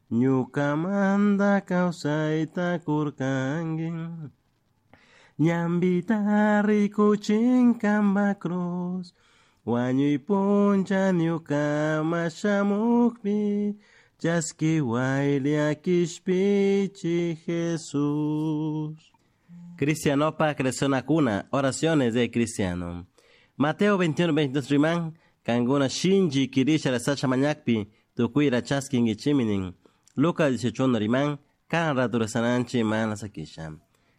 Ñucamanta causaita curcangui. Ñambita ricuchin camba cruz. Wañuy puncha ñucama shamukpi. Chasquihuay llakishpichi Jesús. Cristianopa cuna, oraciones de cristiano. Mateo 21, 22 riman, kanguna shinji kirisha rasacha mañakpi, tukuira chaskingichiminin. Lucas 18 riman, kan raturasananchi mana sakisha.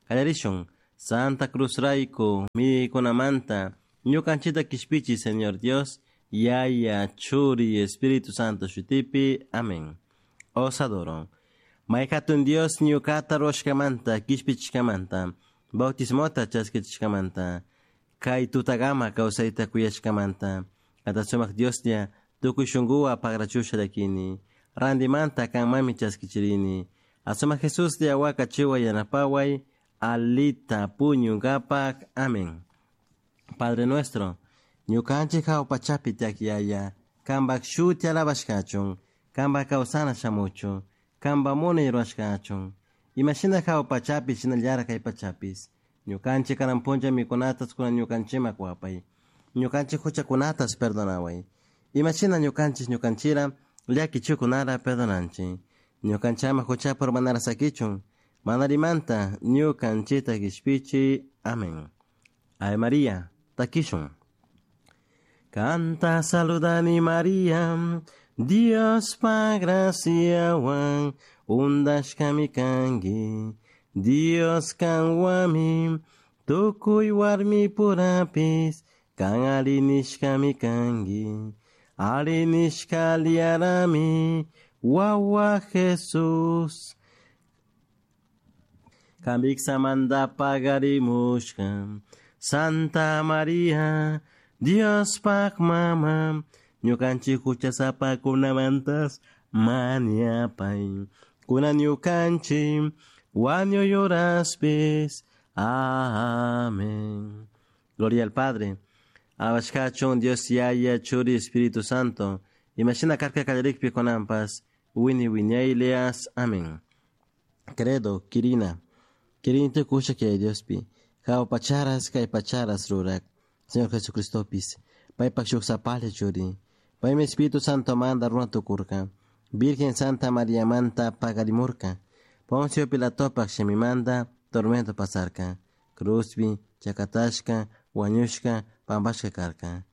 Kallarishun, Santa Cruz raiku, mikunamanta, ñukanchita kishpichi, Señor Dios, Yaya, Churi, Espíritu Santo shutipi. Amén. Os adoro. Maykatun Dios ñukata ruwashkamanta, kishpichishkamanta, bautismota chaskichishkamanta, kay tutagama kawsayta kuyashkamanta, kata sumak Dioslla tukuy shunkuwa pagrachusha llakini, randimanta kanmami chaskichirini, asumak Jesuslla wakachiwa yanapaway, alita puñunkapak. Amén. Padre nuestro, ñukanchik hawa pachapi tiyak yaya, kanpak shuti alabashkachun, kanpak kawsana shamuchun, kanpak munay rurashkachun. Imashina hawa pachapi shinallara kay pachapis. Ñukanchik kanan punlla mikunatas kunan ñukanchikman kuwapay. Ñukanchik huchakunatas perdonaway. Imashina ñukanchik ñukanchira llakichikunara perdonanchik. Ñukanchama huchapa urmanara sakichun. Manarimanta ñukanchita kishpichi. Amén. Ave María, takishun. Canta saludani María, Dios pa graciawan, undashkami kanki, Dios kanwami, tukuy warmi purapis, kan arinishkami kanki, arinishka liarami, wawa Jesús. Kambiksamanta pagarimushka, Santa María, Dios pak mama, ñukanchik huchasapakunamantas mañapay. Kunan ñukanchik wañuy horaspis. Amén. Gloria al Padre. Alabashkachun Dios Yaya, Churi, Espíritu Santo. Imashina karka kallarikpi kunanpas. Wini wiñaylias. Amén. Credo, Kirina. Kirini tukusha kay Diospi. Hawa pacharas kay pacharas rurak. Señor Jesucristopis. Paypak shuk sapalla churi. Paymi Espíritu Santo manda runa tukurka. Virgen Santa María manta pagarimurka. Poncio Pilatopak shimimanta tormento pasarka. Cruzpi, chakatashka, wañushka, pampashka karka.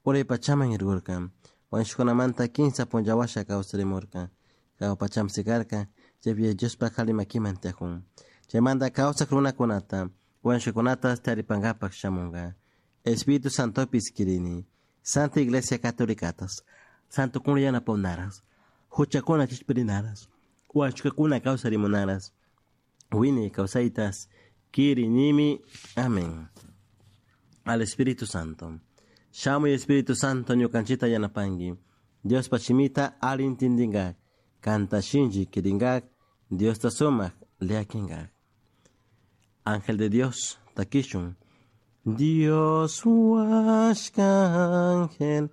Uray pachaman irgurka. Wañushkunamanta kinsa punllawasha kawsarimurka. Hawa pacham sikarka, chaypi Diospak halimakiman tiyakun. Chaymanta kawsak runakunata, wañushkakunata taripankapak shamunka. Espíritu Santopis kirini. Santa Iglesia Católicatas, Santo kuna yanapawnaras, huchakuna kishpirinaras, wañushkakuna kawsarimunaras, wini kawsaytas, kirinimi. Amén. Al Espíritu Santo. Shamuy Espíritu Santo ñukanchita yanapanki. Diospa shimita alli intindinkak, kanta shinchi kirinkak, Diosta sumak llakinkak. Ángel de Dios, takishun. Dios huashka ángel,